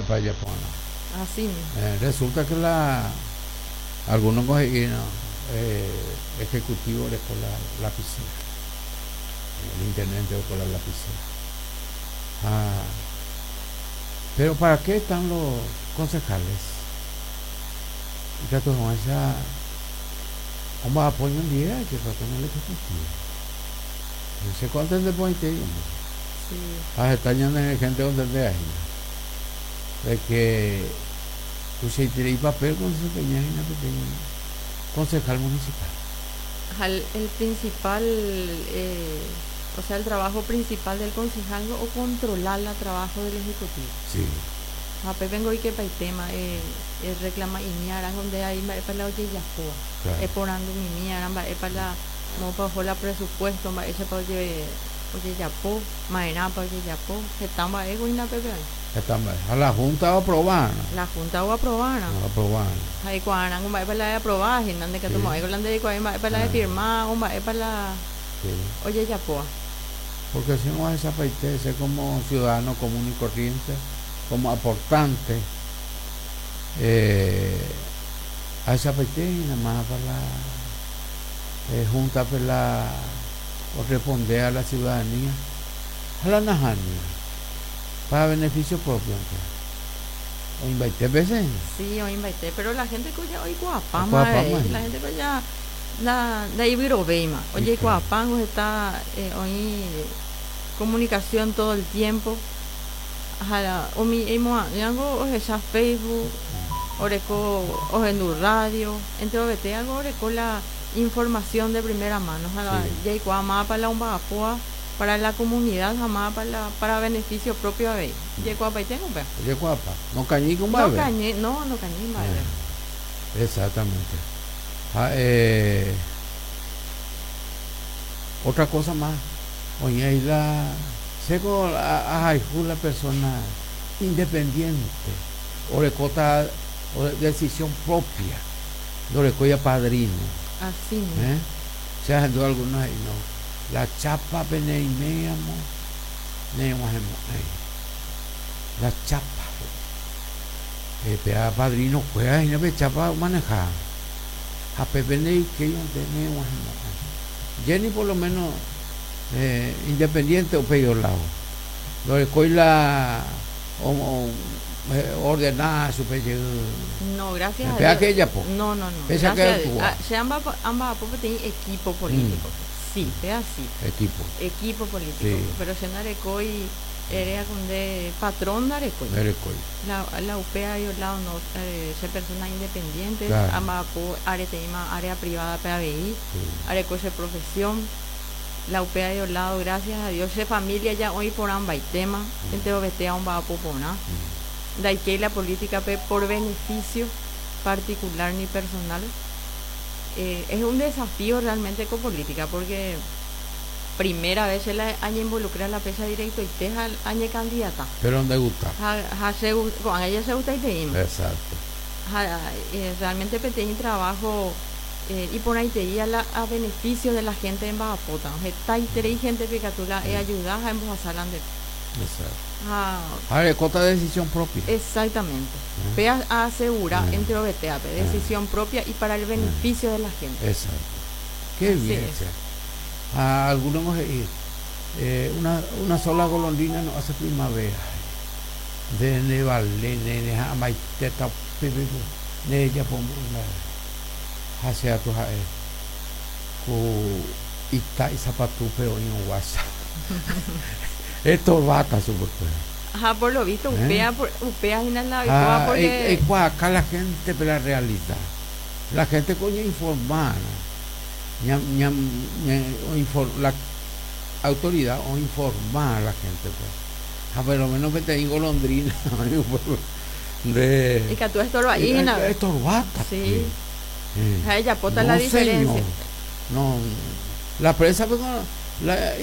mba'épa jajapo'arã. Así mismo. Resulta que la algunos he'i no, ejecutivo oreko la lapicera, el intendente oreko la lapicera. Ha, pero ¿para qué están los concejales? Ikatu hag̃uáicha omba'apo ñandie ajépa con el ejecutivo. Che ko antende porãitei umi. Sí. Ha heta ñane gente ontendea hína de que tuichaiterei papel odesempeña hína peteĩ concejal municipal. Ha el principal, o sea, el trabajo principal del concejal o controlar el trabajo del ejecutivo. Sí. Ha pépe oikepaitéma reclama imiarã donde hay mba'épa la ojejapóva. Claro. Eporandumimiarã mba'épa la moõpa oho la presupuesto, mba'éichapa ojejapo, ma'erãpa ojejapo, heta mba'e hína pépe oĩ. Heta mba'e. Ha la junta oaprobarã. La junta oaprobarã. Oaprobarã. Ha eikuaarã mba'épa la aproba hína ndekatumo'ãi la ndereikuaái mba'épa la firma o mba'épa la Sí. ojejapóva. Porque si no ahechapaite che como ciudadano común y corriente, como aportante, ahechapaite hína mávapa la junta-pe la oresponde a la ciudadanía ha la nahániri, para beneficio propio. Oĩmbaite veces hína. Sí, oĩmbaite, pero la gente ko ya oikuaapáma avei, la gente ko ya ndaivyrovéima, ojeikuaapángo heta oĩ comunicación todo el tiempo. Ha umi emo'ã'ỹango ohecha Facebook, oreko ohendu radio, enterovete algo oreko la información de primera mano. Ha jaikuaa mávapa la omba'apóva para la comunidad ha mávapa la para beneficio propio avei. Jaikuaapaiténgo upéva. Jaikuaapa. Nokañýiko mba'eve. Nokañy, no, nokañýi mba'eve. Exactamente. Ha otra cosa más, oĩ ahí la chéko ahayhu la persona independiente, orekóta decisión propia, ndorekóiva padrino. Así mismo. ¿Eh? Che ahendu algunos he'i no, la chapa peneiméiramo nereg̃uahẽmo'ãi. La chapa. Péa padrino kuéra hína pe chapa omaneha. Ha pépe ndeikéi nereg̃uahẽmo'ãi. Jenny por lo menos independiente upéi lado. Ndorekói la ordenada chupe jey. No, gracias a Péa Dios. que ejapo. No, no, no. Péicha que Gracias a Dios. actúa. Ah, che amba'apo peteĩ equipo político. Sí, péa sí. Equipo. Equipo político. Sí. Pero che ndarekói erea kunde patrón ndarekói. Ndarekói. La upéa lado no, che persona independiente, Claro. amba'apo areteĩma área privada pe avei, Sí. areko che profesión. La upéa lado, gracias a Dios, che familia ya oĩ porãmbaitéma, enterovetéa omba'apo porã. Ndaikéi la política pe por beneficio particular ni personal. Es un desafío realmente con política porque primera vez se la añe involucra la pesa directoite ha añe candidata. Pero ¿dónde gusta? Ha, ha se con ella se gusta y te Exacto. Ha, realmente peteĩ trabajo y por ahí te la a beneficio de la gente en Mba'apóta. Hetaiterei gente pikatu la ayuda ha embohasalante. Exacto. Ha, Ha rekóta decisión propia. Exactamente. Pe a asegura entre OBTA, decisión propia y para el beneficio de la gente. Exacto. Qué Así bien. es. A algunos una sola golondrina no hace primavera. De nevale, de amaiteta, pepe, de ella pongo la hacia tu jae. Ku ita y zapatu pero en guasa. Esto bata su pues. Ajá, por lo visto, ¿Eh? upea, por, upea y la Ah, porque acá la gente, pero la realidad. La gente coño informar. Ñam, ñam, ña, o la autoridad o informar a la gente, pues. Ah, pero lo menos que te digo golondrina, de Y que tú estorba Y ahí, ¿no? estorbata, Sí. pues. Ah, ella pota No, la diferencia. señor. No, la prensa, pues, con la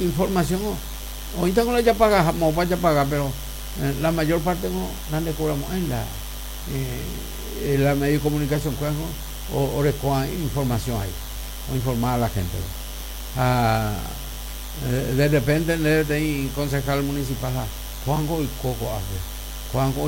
información, ahorita con la ya pagamos, vaya a pagar, pero la mayor parte no la le cobramos en la medio de comunicación, pues, ¿no? O recojan información ahí, o informar a la gente, ¿no? Ah, de repente le de concejal municipal, ah, Juanjo y Coco, a ver, Juanjo